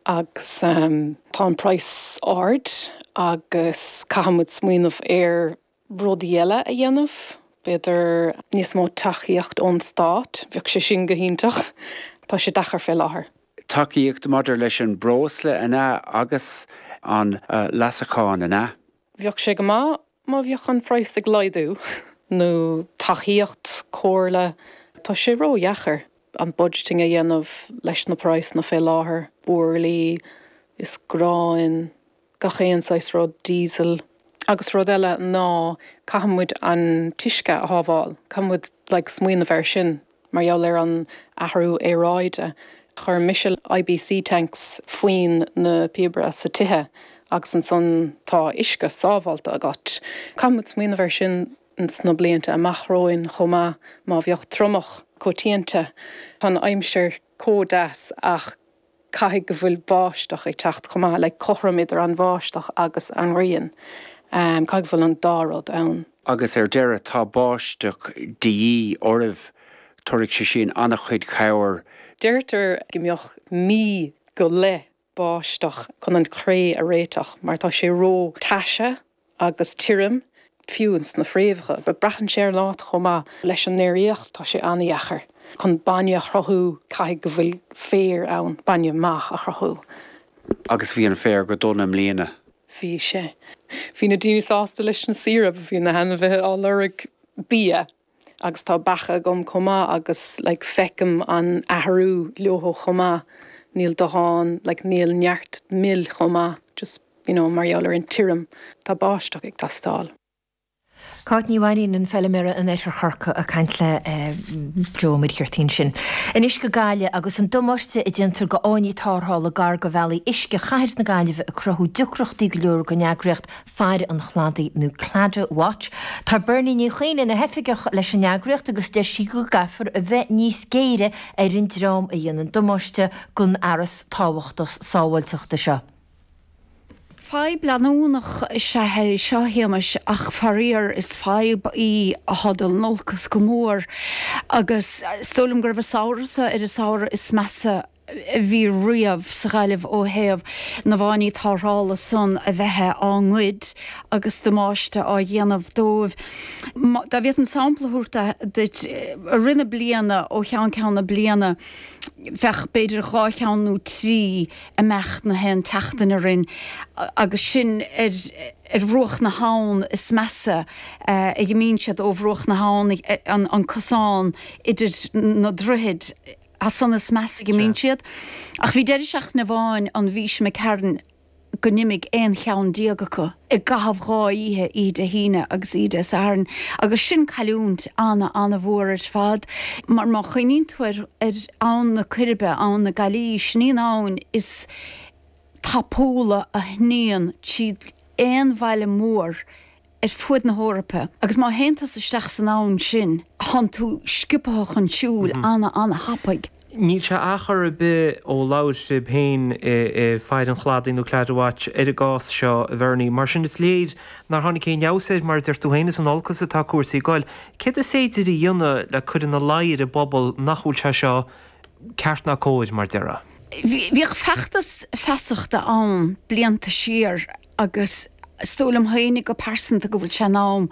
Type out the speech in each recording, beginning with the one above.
Agus tá an praghas ard agus caithfidh muid smaoineamh ar rudaí eile a dhéanamh, b'fhéidir níos mó tacaíocht ón stát, bheadh sé sin go hiontach. Tá sé deacair fé láthair. Tacaíocht maidir leis an breosla, an ea, agus an leasachán, an ea? Bheadh sé go maith má bheadh an praghas ag laghdú, nó tacaíocht, comhairle. Tá sé ró-dheacair an budgeting a dhéanamh leis na praghsanna fé láthair, burlaí is gráin, gach aon saghas rud, diesel. Agus rud eile ná caithfidh muid an t-uisce a shábháil, caithfidh muid like smaoineamh air sin mar gheall ar an athrú aeráide. Chuir mise IBC tanks faoin na píobaire sa tithe agus ansan tá uisce sábháilte agat. Caithfidh muid smaoineamh air sin sna blianta amach romhainn chomh maith má bheadh triomach coitianta. Tá an aimsir chomh deas ach caithfidh go bhfuil báisteach ag teacht chomh maith, like cothrom idir an bháisteach agus an ghrian. Caithfidh go bhfuil an dá rud ann. Agus ar deireadh, tá báisteach de dhíth oraibh, tabharfaidh sé sin an-chuid cabhair. Deirtear go mbeadh mí go leith báisteach chun an chré a réiteach mar tá sé ró taise agus tirim, fiú ins na fréamhacha. But braitheann sé ar an áit chomh maith. Leis an ndéiríocht tá sé an-dheacair. Chun bainne a chruthú caithfidh go bhfuil féar ann, bainne maith a chruthú. Agus bhí an féar go dona i mbliana. Bhí sé. Bhí na daoine sásta leis na saoire but bhí na hainmhithe á lorg bia. Agus tá beacha agam chomh maith agus like feicim an athrú leo chomh maith, níl dóthain, like níl neart mil chomh maith just you know mar gheall ar an tirim, tá báisteach ag teastáil. Cáit Ní Mhainín, an feilméara in Oirthear Chorcaí ag caint le Joe Ó Muircheartaigh ansin. Anois go Gaillimh agus an damáiste a déantar go fháinní tarrthála gar go bhealaí uisce chathair na Gaillimhe ag cruthú deacrachtaí go leor don eagraíocht Faire an Chladaigh nó Claddagh Watch. Tá Bernie Ní Chuinn ina hoifigeach leis an eagraíocht agus deir sí go gcaithfear a bheith níos géire ar an dream a dhéanann damáiste don fhearas tábhachtach sábháilteachta seo. Fadhb leanúnach is ea é seo, a Shéamais, ach faraor is fadhb í atá ag dul in olcas go mór agus is dóigh liom go raibh an samhradh seo ar an samhradh is measa a bhí riamh sa Ghaillimh ó thaobh na bhfáinní tarrthála san a bheith á ngoid agus damáiste á dhéanamh dóibh. Dá bhféadfainn sampla a thabhairt duit, i rith na bliana, ó cheann ceann na bliana, bheadh b'fhéidir 2 cheann nó 3 imeacht na haon tseachtain orainn agus sin ar ar bhruach na habhann is measa a imíonn siad ó bhruach na habhann, an cosán idir na droichid. As san is measa a imíonn siad. Ach bhí deireadh seachtaine amháin an mhí seo imigh tharainn go n-imigh 11 cheann acu i gcaitheamh 2 oíche, oíche Dé hAoine agus oíche Dé Sathairn, agus sin cailliúint ana-ana-mhór ar fad. Mar má chuimhníonn tú ar Abhainn na Coiribe, Abhainn na Gaillí, sin í an abhainn is tapúla a shníonn tríd aon bhaile mór ar fuaid na hEorpa agus má théann tusa isteach san abhainn sin, tánn tú sciobtha chun siúil ana-ana-thapaidh. Níl sé achar ar bith ó labhair sibh féin i Faire an Chladaigh nó Claddagh Watch ar an gcás seo, a Bhernie. Mar sin is léir nár tháinig aon fheabhas air, mar a deir tú féin, is in olcas atá cúrsaí ag goil. Céard is féidir a dhéanamh le cur ina luí ar an bpobal nach bhfuil sé seo ceart ná cóir, mar a déarfá? Bhíodh feachtas feasachta ann blianta siar agus is dóigh liom féinig go pearsanta go bhfuil sé in am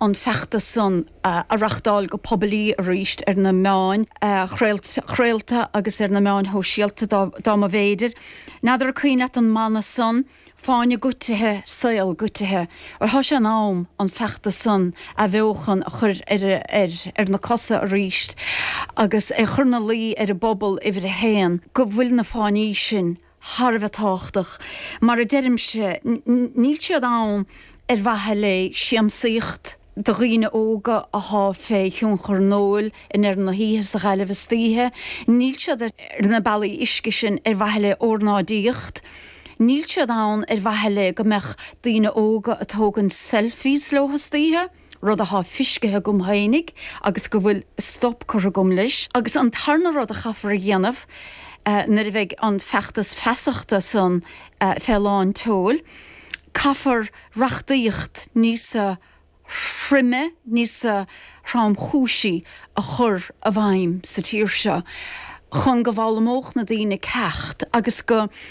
an feachtas san a reachtáil go poiblí arís ar na meáin chraolta agus ar na meáin shóisialta dá mba bhféidir. N'fheadar an cuimhin leat an mana san, Fáinne goitithe, saol goitithe. Bhuel tá sé in am an feachtas san a athbheochan, a chur ar na cosa arís agus é chur 'na luí ar an bpobal uimhir a haon go bhfuil na fáinní sin thar a bheith tábhachtach. Mar a deirimse, níl siad ann ar mhaithe le siamsaíocht do dhaoine óga athá fé thionchar an óil i ndeireadh na hoíche sa Ghaillimh istoíche. Níl siad ar na bealaí uisce sin ar mhaithe le ornáidíocht. Níl siad ann ar mhaithe le go mbeadh daoine óga ag tógaint selfies leo istoíche. rud athá fiscithe agam fhéinig agus go bhfuil stop curtha agam leis. Agus an tarna rud a chaithfear a dhéanamh nuair a bheidh an feachtas feasachta san fé lán tseoil, caithfear reachtaíocht níosa throime, níosa thromchúisí a chur i bhfeidhm sa tír seo chun go bhfoghlaimeodh na daoine ceacht agus go.